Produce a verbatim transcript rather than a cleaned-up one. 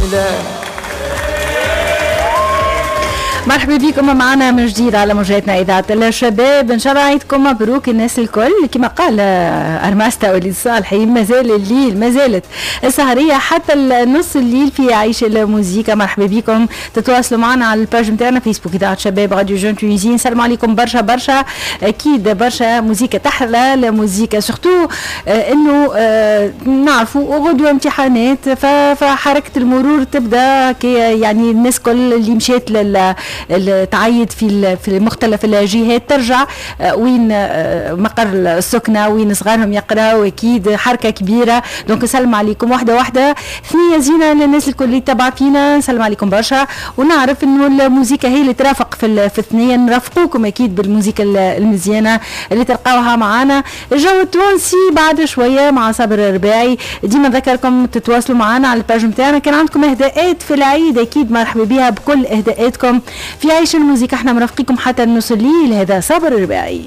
الله. مرحبا بكم معنا من جديد على موجاتنا إذاعة الشباب. إن شاء الله عيدكم مبروك الناس الكل. كما قال أرماستا وليد صالحي، مازال الليل، مازالت السهرية حتى نص الليل في عيش الموزيكا. مرحبا بكم، تتواصلوا معنا على ال page نتاعنا فيسبوك إذاعة شباب راديو Jeune Tunisie. نسلم عليكم برشا برشا، أكيد برشا موزيكا تحلى الموزيكا، surtout إنه نعرفوا غدوة امتحانات، فحركة المرور تبدا كي يعني الناس كل اللي مشات لل تعيد في في مختلف الجهات ترجع وين مقر السكنة وين صغارهم يقراوا، اكيد حركة كبيرة. donc نسلم عليكم واحدة واحدة، ثنيه زينة للناس الكل اللي تبع فينا، نسلم عليكم برشا. ونعرف انه الموسيقى هي اللي ترافق في في الثنية، نرافقوكم اكيد بالموسيقى المزيانه اللي تلقاوها معانا. الجو التونسي بعد شوية مع صابر الرباعي. ديما نذكركم تتواصلوا معنا على ال page نتاعنا، كان عندكم اهداءات في العيد اكيد مرحبا بها بكل اهداءاتكم في عيش الموسيقى. احنا مرافقيكم حتى نص الليل. هذا صابر الرباعي.